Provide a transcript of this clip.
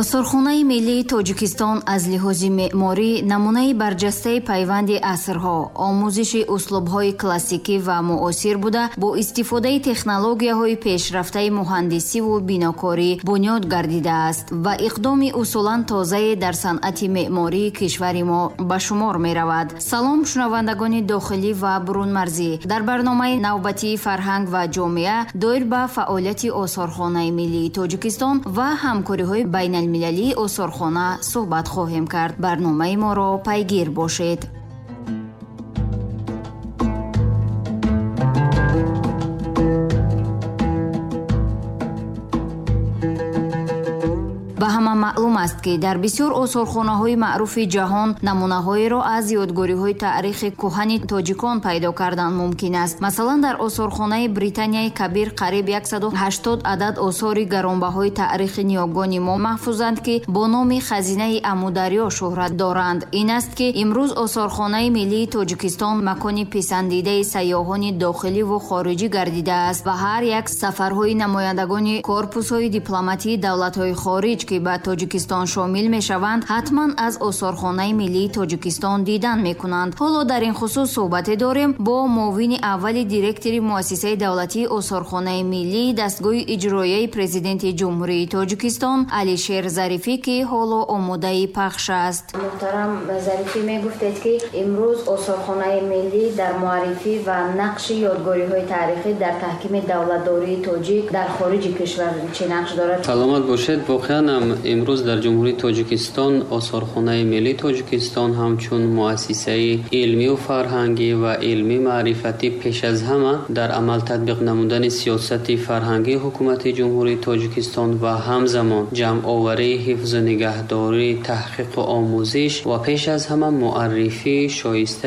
Осорхонаи миллии Тоҷикистон аз лиҳози меъморӣ намунаи барҷастаи пайванди асрҳо, омӯзиши услубҳои классикӣ ва муосир буда, бо истифодаи технологияҳои пешрафтаи муҳандисиву бинокорӣ бунёд гардидааст ва иқдоми усулан тозае дар санъати меъмории кишвари мо ба шумор меравад. Салом, шунавандагони дохилӣ ва бурунмарзӣ. Дар барномаи навбатии «Фарҳанг ва ҷомеа» доир ба фаъолияти Осорхонаи миллии Тоҷикистон ва ҳамкориҳои байналмилалии осорхона суҳбат хоҳем кард. Барномаи моро пайгир бошед. Ба ҳама маълум аст, ки дар бисёр осорхонаҳои маъруфи ҷаҳон намунаҳоеро аз ёдгориҳои таърихи кӯҳани тоҷикон пайдо кардан мумкин аст. Масалан, дар осорхонаи Британияи Кабир қариб 180 адад осори гаронбаҳои таърихи ниёгони мо маҳфузанд, ки бо номи хазинаи Амударё шӯҳрат доранд. Ин аст, ки имрӯз Осорхонаи миллии Тоҷикистон макони писандидаи сайёҳони дохиливу хориҷӣ гардидааст ва ҳар як сафарҳои намояндагони корпусҳои дипломатии давлатҳои хориҷ, ки ба Тоҷикистон шомил мешаванд, ҳатман аз Осорхонаи миллии Тоҷикистон дидан мекунанд. Ҳоло дар ин хусус суҳбате дорем бо муовини аввали директори Муассисаи давлатии Осорхонаи миллии дастгоҳи иҷроияи Президенти Ҷумҳурии Тоҷикистон Алишер Зарифӣ, ки ҳоло омодаи пахш аст. Муҳтарам Зарифӣ, мегуфтед, ки имрӯз Осорхонаи миллӣ дар муаррифӣ ва нақши ёдгориҳои таърихӣ дар таҳкими давлатдории тоҷик дар хориҷи кишвар чӣ нақш дорад? Саломат бошед. Воқеан ҳам имрӯз дар Ҷумҳурии Тоҷикистон Осорхонаи миллии Тоҷикистон ҳамчун муассисаи илмию фарҳангӣ ва илмӣ маърифатӣ пеш аз ҳама дар амал татбиқ намудани сиёсати фарҳангии Ҳукумати Ҷумҳурии Тоҷикистон ва ҳамзамон ҷамъоварӣ, ҳифзу нигаҳдорӣ, таҳқиқу омӯзиш ва пеш аз ҳама муаррифии шоистаи